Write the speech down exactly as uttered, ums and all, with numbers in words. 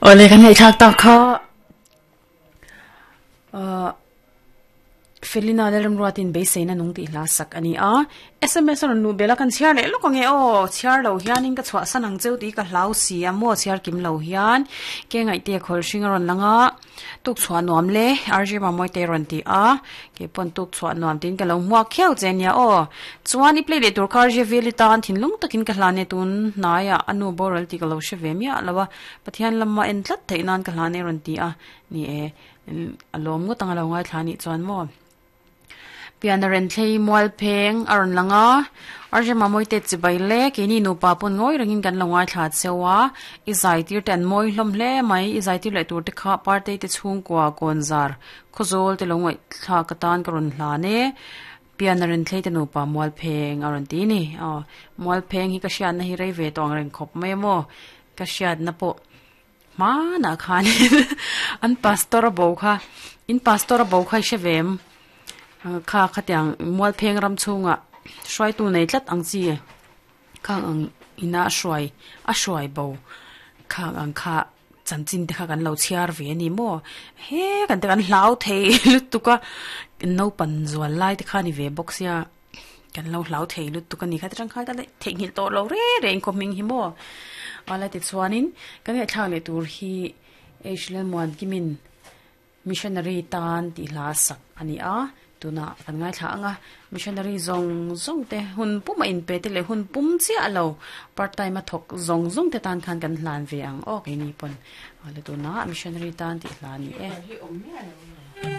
Ole kan hei thak tak kha uh Felina lerem ruatin beiseina nung ti hla sak ani a S M S ron nu bela kan chhiar leh lawk ange aw chhiar lo hianin ka chhuah san ang cheu tih ka hlau si a maw chhiar kim lo hian ke ngaih te khawl hring a rawn lang a tuk chhuah nuam le R J Mamawii te rawn ti a ke pawn tuk chhuah nuam tiin ka lo hmuak khiau che ania aw chuan i play leh tur kha R J Veli tan thinlung takin ka hlan e tun hnaiah a nu boral tih ka lo hre ve miah lo a Pathian lama en tlat theih nan ka hlan e rawn ti a ni e a lawm ngawt ang a lo ngaithla anih chuan maw. Piana ren thlei mual pheng a rawn lang a, R J Mamawii te chibai le keini nupa pawn ngawi rengin kan lo ngaithla cheu a, i zai tir te an mawi hlawm hle mai, i zai tir leh tur te kha partei te chhungkua kawnzar khawzawl te lo ngaihthlak atan ka rawn hlan e, Piana ren thlei te nupa mual pheng a rawn ti a ni. Aw mual pheng hi ka hriatna hi rei ve tawh ang reng khawp mai a maw, ka hriatna pawh hmanah khanin an pastor a bo kha in pastor a bo kha i hre ve em? Kha khatiang mualpheng ram chhungah hruaitu nei tlat ang chi khang ang ina a hruai a hruai bo khang ang kha chanchin te kha kan lo chhiar ve a ni maw he kan te kan hlau thei lutuk a naupang zual lai te kha a ni ve bawk sia kan lo hlau thei lutuk a ni kha tichuan kha ka theihnghilh tawh lo reng reng khaw hming hi maw ala tichuanin kan ngaihthlak leh tur hi H Lalmuankimin Missionary tan tih hla sak a ni a, tunah kan ngaithla ang a, missionary zawng zawng te hun pum a inpe te leh hun pum chiah lo part time a thawk zawng zawng te tan khan kan hlan ve ang aw keini pawn awle tunah missionary tan tih hla a ni e.